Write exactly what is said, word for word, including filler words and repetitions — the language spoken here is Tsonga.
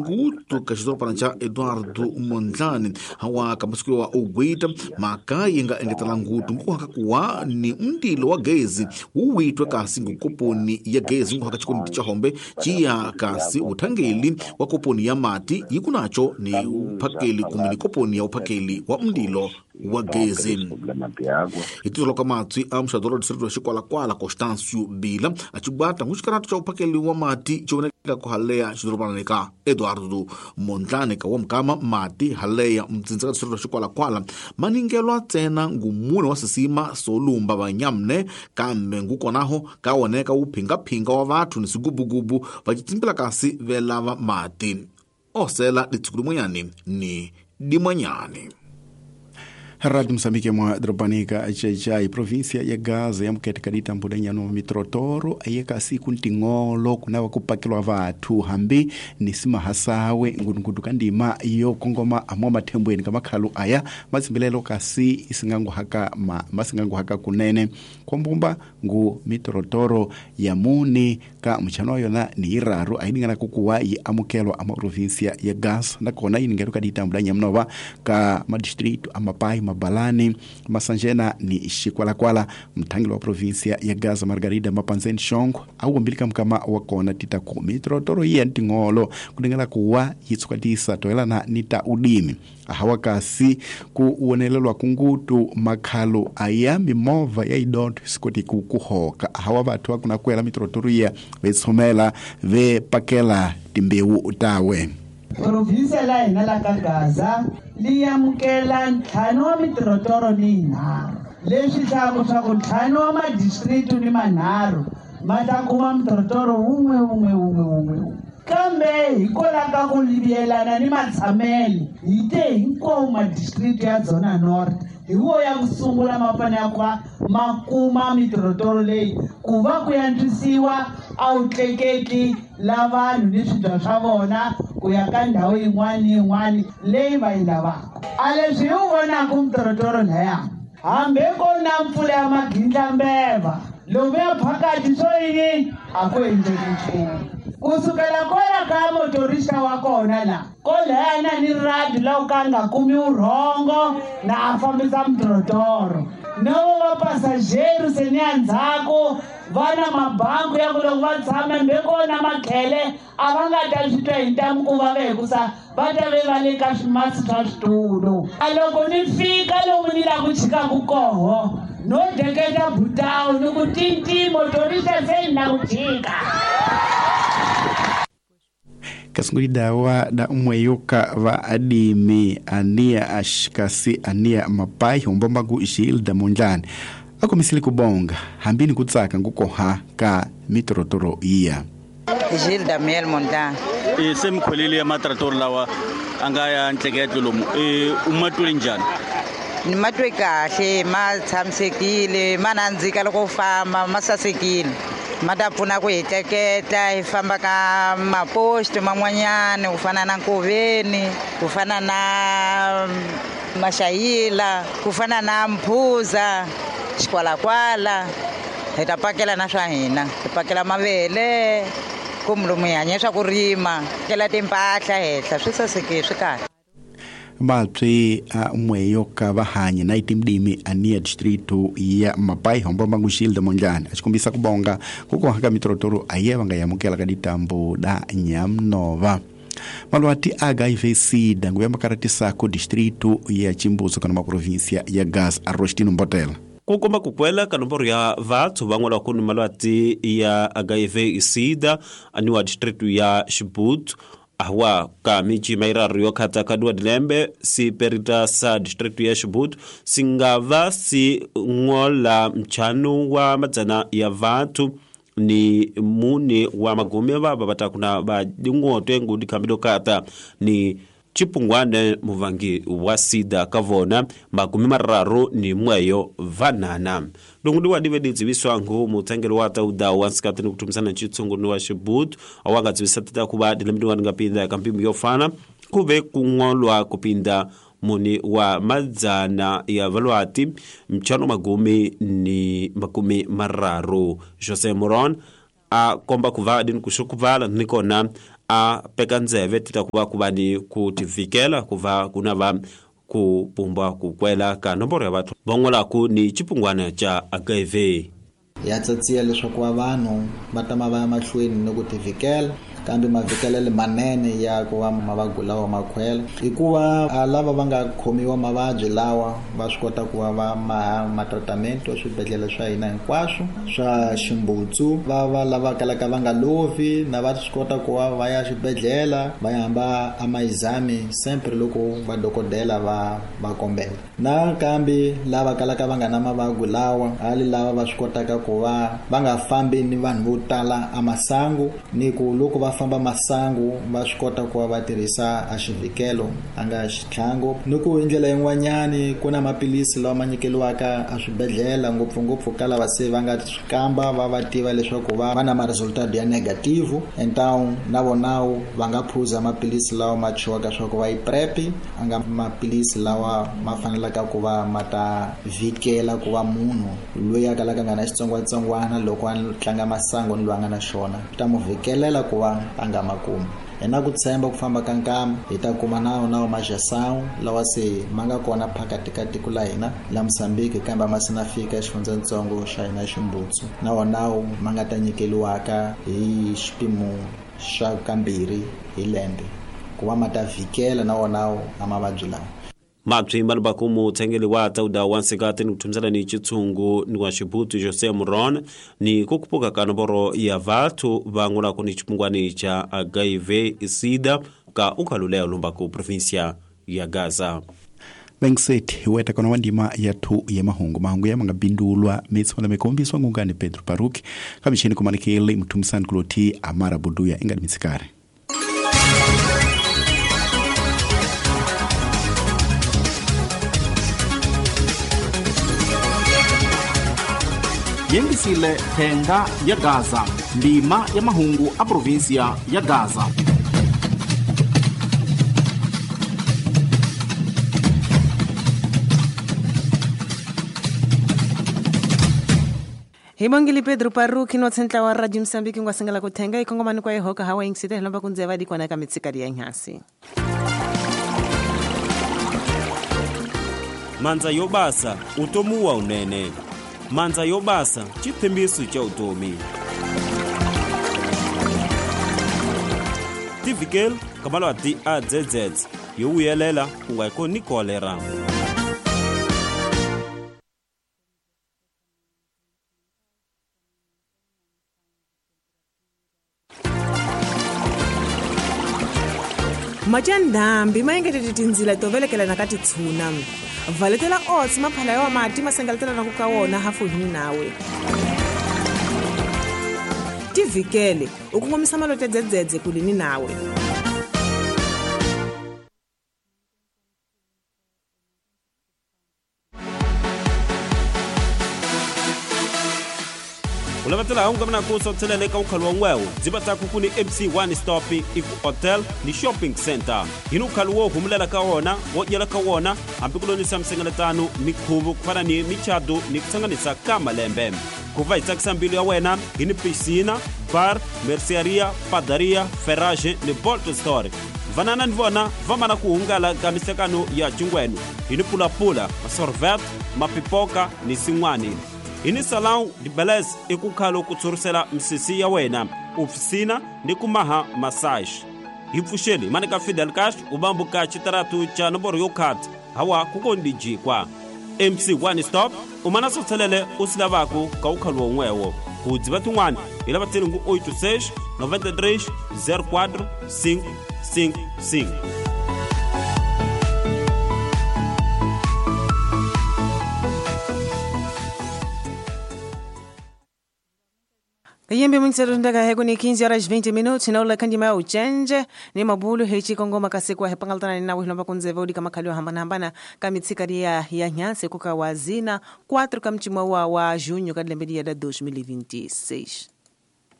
Ngutu ka xidorobana xa Eduardo Mondlane hawa ka masiku wa ugwita mhaka yi nga engetela ngutu nkuhaka kuwa ni mndilo wa gezi wu witwe kasi ngukoponi ya gezi nkuhaka chikondi cha hombe chiya kasi uthangeli wa koponi ya mati yi kunacho ni uphakeli kumbe ni koponi ya uphakeli wa mndilo wa gezi. Hi ka matswi a muxadoro distrito wa Xikwalakwala Constancio Bila a chibata nguxikaratu cha uphakeli wa mati chivoneka ku haleya xidorobana ka Eduardo Mondlane ka wa mukama mati haleya mtsindza ka distrito wa Xikwalakwala maningelwa ntsena ngumune wa sisima solumba vanyamne kambe ngukonaho ka woneka wu phingaphinga wa vathu ni swigubugubu va citsimbila kasi velava mati osela litshuku limwenyani ni dimanyani. Radio Moçambique mwa drobanika Xai-Xai província ya Gaza ya mukete kadita mbudanya no mitrotoro ayeka siku ntingolo kunawa kupakilwa vathu hambi ni simahasawe ngunungudu kandima iyo kongoma amwa mathembweni kamakhalu aya matsimbilelo kasi isingangu haka ma, masingangu haka kunene kombumba ngu mitrotoro ya muni ka mchano yona ni iraru ayiningana kukuwa yi amukelwa ama província ya Gaza nakona yiningelo kadita mbudanya mnova ka madistrito amapai Mabalani Masanjena ni Xikwalakwala. Mthangelo wa província ya Gaza Margarida Mapanzeni Shongo awumbilika mkama wakona tita ku mitrotoro iya ntingolo kudingela kuwa yitsukatisa toelana nita udimi ahawa kasi kuwonelelwa kungutu makhalo aya mimova ya idonto sikoti kukuhoka ahawa vathu akunakwela mitrotoro iya vetsomela vepakela timbewu tawe. Província la hina la ka Gaza li amukela ntlhanu wa mitirotoro ni yinharhu leswi hlaku swa ku ntlhanu wa madistritu ni manharhu ma ta kuma mitirotoro wun'we wun'we wun'we wun'we kambe hikwalaho ka ku yelana ni matshamelo hi te hinkwawo madistritu ya Zona North hi wo ya ku sungula ma fanele ku va ma kuma mitirotoro leyi ku va ku antswisiwa a wu tleketli la vanhu ni swibya swa vona ku ya ka ndhawu yin'wana ni yin'wana leyi va yi lavaka. A leswi hi wu vonaka mitirotoro laya hambi ko na mpfula ya magindlambeva lomuya phakathi swo yini a ku endleki nchumu kusukela kwala ka motorista wa kona la kolayana ni radi la u ka nga kumi urhongo na a fambisa mitirotoro no va passageru se ni ya ndzhaku va na mabanku ya ku loko va tshama mbe kona makhele a va nga ta swi twa hi ntamu ku va ve hikusa va ta ve va le ka swimasi swa switulu. A loko ni fika lomu ni la ku chikaku koho no deketa butawu ni ku tinti motorista se ni la ku chika. Kasungulida wa da umweyoka va adimi ania ashkasi ania mapai hombombagu Gilda Mondlane akomisili kubonga hambini kutsaka ngukoha ka mitorotoro iya Gilda Miel Mondlane e semkholele ya matrator lawa anga ya ntleketlo lomu e umatule njani ni matwe kahle ma tshamisekile ma nandzika loko famba ma sasekile ma ta pfuna ku hi tleketla hi famba ka maposto man'wanyana ku fana na Nkoveni ku fana na Maxayila ku fana na Mphuza Xikwalakwala hi ta pakela na swa hina hi pakela mavele kumbe lomu hi hanya swa ku rima kela timpahla henhla swi sasekile swi kahle. Mapsi a mweyoka vahanye na itimdimi ania distrito ya Mapai hombomba Gilda Mondlane achikumbisa kubonga kukohaka mitorotoro aye vanga yamukela ka ditambo da Nyamnova. Malwati H I V SIDA nguyamba karatisako distrito ya Chimbuzo kana ma província ya Gaza Arrostino Mbotela kukomba kukwela ka nomboro ya vathu van'wana va kuni malwati ya H I V SIDA aniwa distrito ya Chibuto ahwa ka miji mairaru yo khata kadua dilembe si perita sa distrito ya Chibuto singava si ngola mchano wa madzana ya vathu ni mune wa magume vava vatakuna va dingoto ngudi kambido kata ni chipungwane muvangi wa sida kavona makumi mararu ni mweyo vanana lungu ndiwa dive didziviswangu mutsangelo wa tauda wa nsikati ni kutumisana chitsungu ni wa Chibuto awanga dzivisa tita kuva dilembe ndi ngapinda kampimbi yofana kuve kungolwa kupinda muni wa madzana ya valwati mchano magumi ni makumi mararu Jose Moron a komba kuva dini kushukuvala nikona a peka ndzeve ti ta ku va ku va ni ku tivikela ku va ku na va ku pumba ku kwela ka nomboro ya vathu va n'walaku ni xipungwana xa H I V. Ya tsatsiya leswaku va vanhu va tama va ya mahlweni ni ku tivikela, kambe mavikelelo manene ya ku va mavabyi lawa makhwela hikuva lava va nga khomiwa mavabyi lawa va swi kota ku va va maha matratamente swibedhlele swa hina hinkwaswo swa Ximbutsu, va va lava kalaka va nga lovi na va swi kota ku va va ya xibedhlele va ya hamba a maexame sempre loko vadokodela va va kombela. Nakambe lava kalaka va nga na mavabyi lawa hali lava va swi kotaka ku va va nga fambi ni vanhu vo tala a masangu ni ku loko va famba masangu va swi kota ku va va tirhisa a xivikelo a nga xitlhangu. Ni ku hi ndlela yin'wanyani ku na maphilisi lawa ma nyikeliwaka a swibedhlele ngopfungopfu ka lava se va nga swi kamba va va tiva leswaku va va na ma-resultado ya negative, então na vona va nga phuza maphilisi lawa ma chiwaka swa ku va yi PrEP a nga maphilisi lawa ma fanelaka ku va ma ta vikela ku va munhu loyi a kalaka nga na xitsongwatsongwana loko a tlanga masangu ni loyi a nga na xona ta mu vikelela ku va a nga makumi. Hi na ku tshemba ku famba ka nkama hi ta kuma nawu nawu majasawu lawa se ma nga kona phakati ka tiko la hina la Mozambique kambe ma se na fika exifundzantsongo xa hina Ximbutsu, na wonawu ma nga ta nyikeliwaka hi xipimo xa kambirhi hi lembe ku va ma ta vhikela na wonawu a mavabyi lawa. Mabyi malubaku mutshengeli wa tsauda wa nsikati ni ku thumisela ni xitshungu ni wa Xibutu Jose Muron ni ku kupuka ka nomboro ya vathu va ngulaku ni xipungwani xa H I V SIDA ka ukhaluleyo lumbaku provinsia ya Gaza. Bengiseti weta kona wandima ya thu ya mahungu mahungu ya manga bindulwa mitswana mikombiswa ngungani Pedro Paruki kamishini kumanikele mtumisani kuloti Amara Buduya ingani mitsikare. Yengisile thenga ya Gaza, ndima ya mahungu a provinsia ya Gaza. Hibongile Pedro Paruki no tsentla wa Radio Mozambique ngwa sengela kuthenga ikongomani kwa ihoka hawa ingisite lomba kunzeva dikwana ka mitsikari ya nhasi. Manza yobasa utomuwa unene. Manza yobasa chithembiso cha utomi. Tivikel kamalwa ti A Z Z yovuyelela kungaiko ni kolera. Majandambi maengetete tindzila to velekelana ka titshuna. Valetela oats maphala ya mati masengaletela na ku ka wona hafu hini nawe. Tivikele u kongomisa malote dzedzedze kulini nawe. Ulavatela hunga mina ku sothelele ka ukhalo wa ngwewo dzibata ku kuni M C one stop iku hotel ni shopping center hinu ukhalo wo humulela ka wona wo dyela ka wona hambi ku lonisa msengeletano mikhuvo ku fana ni michado ni kutsanganisa ka malembe ku va hi tsakisa mbilu ya wena hi ni piscina bar merceria padaria ferrage ni bolt store vanana ni vona va mana ku hungala ka mihlekano ya cingwenu hi ni pulapula masorvet mapipoka ni sin'wani hi ni salão de beleza i ku khalo ku tshurisela misisi ya wena ofisina ni ku maha massage hi pfuxeli mani ka Fidel Castro u bambuka xitaratu xa nomboro yo khata hawa ku kondi jikwa M C one stop u mana sothelele u swi lavaku ka ukhalo won'wewo ku dziva tin'wana hi lava tselingu oito seis noventa e três zero quatro cinco cinco cinco. Yembe mwinsero ndaka heko ni quinze horas vinte minutos na ula kandi mau change ni mabulu hechi kongoma kasekwa hepangaltana ni nawe hilomba kunzeva udi kama kalio hambana hambana kamitsikari ya ya nyanse kuka wazina quatro kamchimwa wa wa junho kadlembedi ya dois mil e vinte e seis.